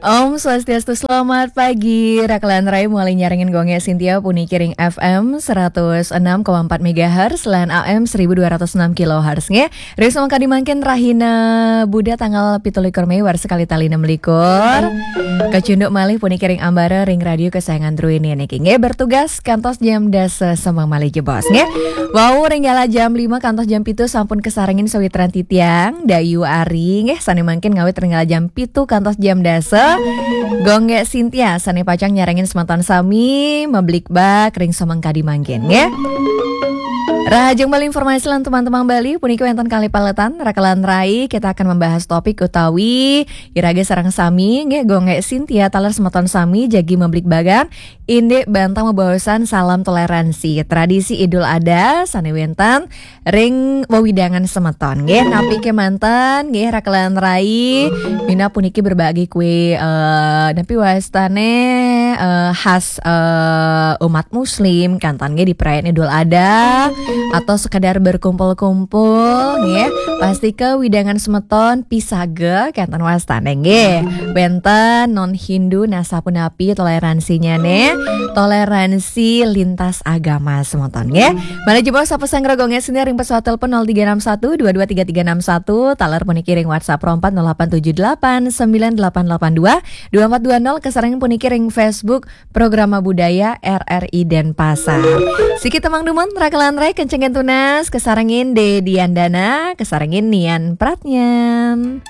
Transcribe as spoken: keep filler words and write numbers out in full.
Om Swastiastu, selamat pagi. Rakelan Rai mulai nyarengin Gongek Sintia puniki ring F M seratus enam koma empat megahertz lan A M seribu dua ratus enam kilohertz nggih. Ring sumangkadi mangkin rahina Buda tanggal pitu likur Mei warsa kalih tali enam likur. Kacunduk malih puniki ring ambara ring radio kesayangan druene niki nggih, bertugas kantos jam dasa semeng malih jebos nggih. Wau ring galah jam lima kantos jam pitu sampun kasarengin sawitran titiang, Dayu Ari nggih, sane mangkin ngawit ring galah jam pitu kantos jam dasa. Gongek Sintia sane pacang nyarengin semeton sami mablikbak ring sumangkadi mangkin nggih. Rahajeng Bali informasi lan teman-teman Bali puniki wenten kalih paletan, Rakelan Rai, kita akan membahas topik utawi iraga sareng sami nggih, Gongek Sintia taler semeton sami jagi mablikbakan indik bantang bebaosan salam toleransi tradisi Idul Adha sane wenten ring wewidangan semeton nggih. Napi kemanten nggih, Rakelan Rai, minab puniki berbagi kue, eh, napi wastane, eh, khas, eh, umat muslim kanten nggih di perayaan Idul Adha atau sekedar berkumpul-kumpul nggih. Pasti ke wewidangan semeton pisaga kanten wastane nggih. Wenten non Hindu nasapunapi toleransinya ne, toleransi lintas agama semeton nggih. Malih jebos sapa sanggra Gongek Sintia ring pesawat telepon nol tiga enam satu dua dua tiga tiga enam satu, taler puniki ring WhatsApp ron empat nol delapan tujuh delapan sembilan delapan delapan dua, dua empat dua nol, kasarengin puniki ring Facebook Programa Budaya R R I Denpasar. Siki temang dumun, Rakelan Rai, kencengin tunas, kasarengin Dedi Andana, kasarengin Nian Pratnyan.